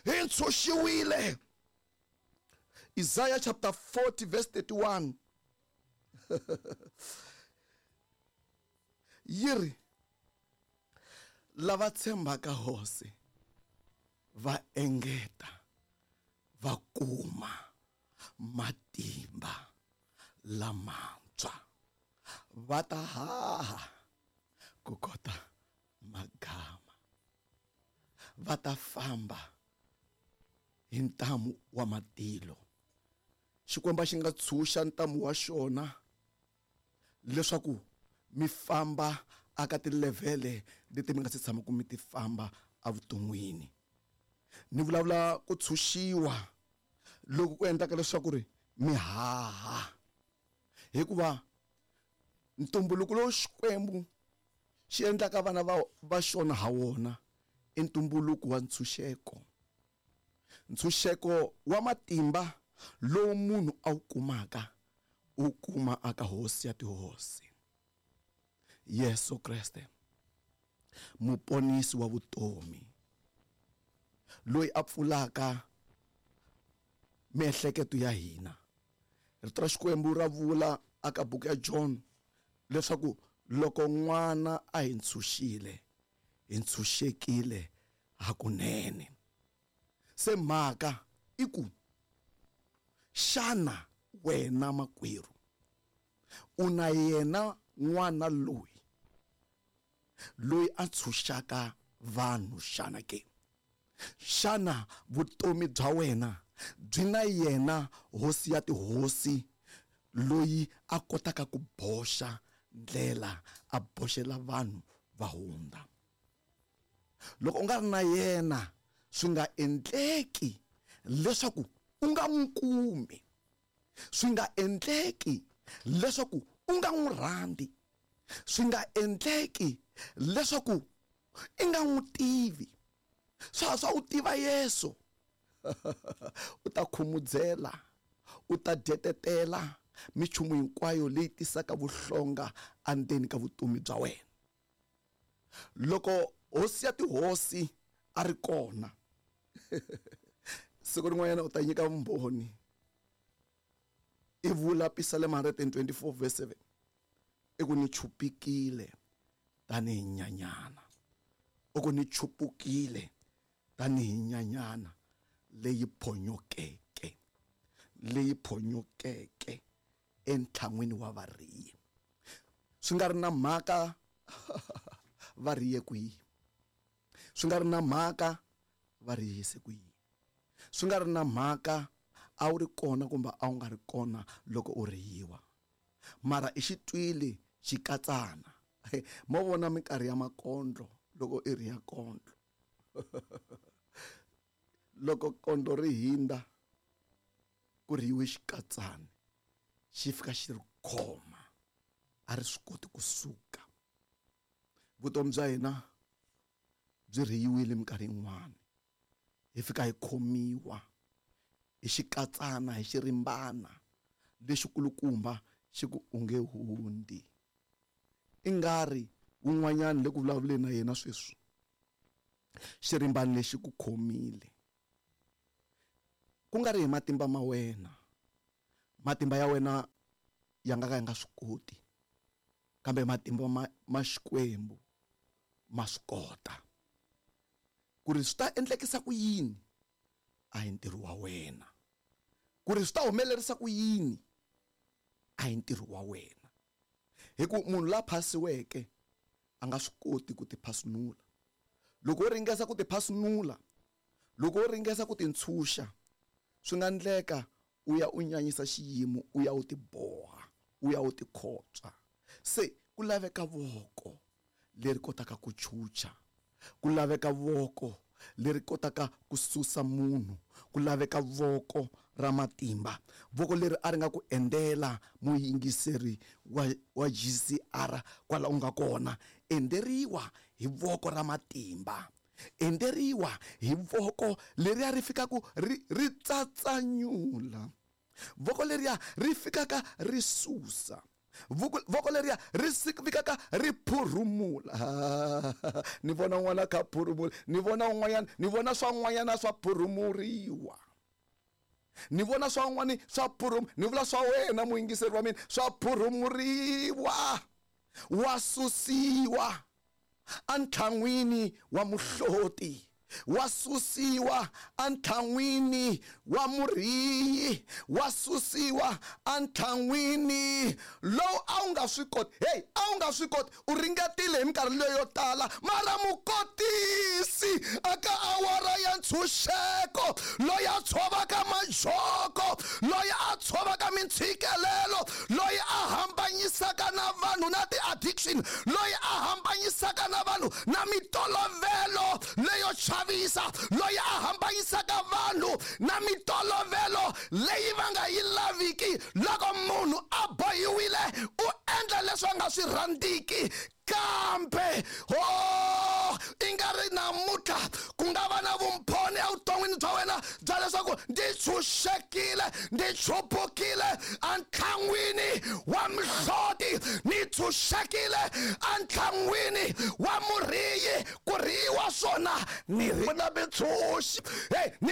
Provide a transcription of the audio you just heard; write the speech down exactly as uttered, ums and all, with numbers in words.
Hi ntshunxiwile. Isaiah chapter forty verse thirty-one. Yi ri lava tshembaka hosi va engeta va kuma matimba lamantshwa, va ta haha ku kota magama, va ta famba hi ntamu wa matilo. Xikwembu xi nga tshunxa ntamu wa xona leswaku mi famba aka tilevhele leti mi nga se tshamaka mi ti famba evuton'wini. Ni vulavula ku tshunxiwa loko ku endlaka leswaku ri mi haha, hikuva ntumbuluko lowu Xikwembu xi endlaka vana va va xona ha wona i ntumbuluko wa ntshunxeko. Ntshunxeko wa matimba lowu munhu a wu kumaka u kuma aka hosi ya tihosi, Yesu Kreste, muponisi wa vutomi, loyi a pfulaka miehleketo ya hina. Rito ra Xikwembu ra vula aka buku ya John leswaku loko n'wana a hi ntshunxile, hi ntshunxekile hakunene. Se mhaka i ku xana wena makwerhu u na yena n'wana loyi loyi a tshunxaka vanhu xana ke? Xana vutomi bya wena byi na yena hosi ya tihosi loyi a kotaka ku boxa ndlela a boxela vanhu va hundza? Loko u nga ri na yena swi nga endleki leswaku u nga n'wi kumi, swi nga endleki leswaku u nga n'wi rhandzi, swi nga endleki leswaku i nga n'wi tivi. Swa swa u tiva Yesu u ta khumudzela, u ta dyetetela michumu hinkwayo leyi tisaka vuhlonga endzeni ka vutomi bya wena. Loko hosi ya tihosi a ri kona siku rin'wanyana u ta nyika vumbhoni. I vula Pisalema one hundred twenty-four verse seven, i ku ni chupikile tanihi nyanyana, i ku ni chupukile tanihi nyanyana leyi phonyokeke, leyi phonyokeke entlhan'wini wa variyi. Swi nga ri na mhaka va riye kwihi, swi nga ri na mhaka va riyise kwihi, swi nga ri na mhaka a wu ri kona kumbe a wu nga ri kona loko u riyiwa, mara i xi twile xikatsana. Mo vona minkarhi ya makondlo loko i riya kondlo loko kondlo ri hindza ku riyiwe xikatsana, xi fika xi ri khoma, a ri swi koti kusuka. Vutomi bya hina byi riyiwile minkarhi yin'wana, hi fika hi khomiwa hi xikatsana, hi xirimbana lexikulukumba xi ku u nge hundzi. I nga ri wun'wanyana le ku vulavuleni na yena sweswi, xirimbana lexi ku khomile, ku nga ri hi matimba ma wena, matimba ya wena ya nga ka ya nga swi koti, kambe matimba ma, ma Xikwembu ma swi kota. Ku ri swi ta endlekisa ku yini a hi ntirho wa wena, ku ri swi ta humelerisa ku yini a hi ntirho wa wena. Hi ku munhu la phasiweke a nga swi koti ku tiphasinula. Loko u ringesa ku tiphasinula, loko u ringesa ku tintshunxa, swi nga endleka u ya u nyanyisa xiyimo, u ya u tiboha, u ya u tikhotswa. Se ku laveka voko leri kotaka ku chucha, ku laveka voko leri kotaka ku susa munhu, ku laveka voko ra matimba, voko leri a ri nga ku endlela muyingiseri wa, wa G C R kwala u nga kona. Enderiwa hi voko ra matimba, enderiwa hi voko leriya ri fikaka ri, ri tsatsanyula, voko leriya ri fikaka ri susa, Voko leriya ri fikaka ri phurumula. Ni vona un'wana kha phurumula, ni vona un'wanyana, ni vona swa n'wanyana swa phurumuriwa, ni vona swa n'wani swa phurum, ni vula swa wena muyingiseri wa mina swa phurumuriwa. Wa susiwa entlhan'wini wa muhloti, wa susiwa entlhan'wini wa murhiyi, wa susiwa entlhan'wini lowu a wu nga swi koti. Hey, a wu nga swi koti, u ringetile hi minkarhi leyo yo tala, mara mukotisi aka awara ya ntshunxeko, loyi a tshovaka majoko, loyi a tshovaka mintshikelelo, loyi a hambanyisaka na vanhu na ti-addiction, loyi a hambanyisaka na vanhu na mitolovelo leyo chavisa, loyi a hambanyisaka vanhu na mitolovelo leyi va nga yi laviki. Loko munhu a bohiwile u endla leswi a nga swi rhandziki, kambe ho i nga ri namuntlha ku nga va na vumbhoni evuton'wini bya wena bya leswaku ndzi tshunxekile, ndzi chupukile entlhan'wini wa mihloti, ni tshunxekile entlhan'wini wa murhiyi, ku rhiyiwa swona ni ri na mintshunxi. Hey, ni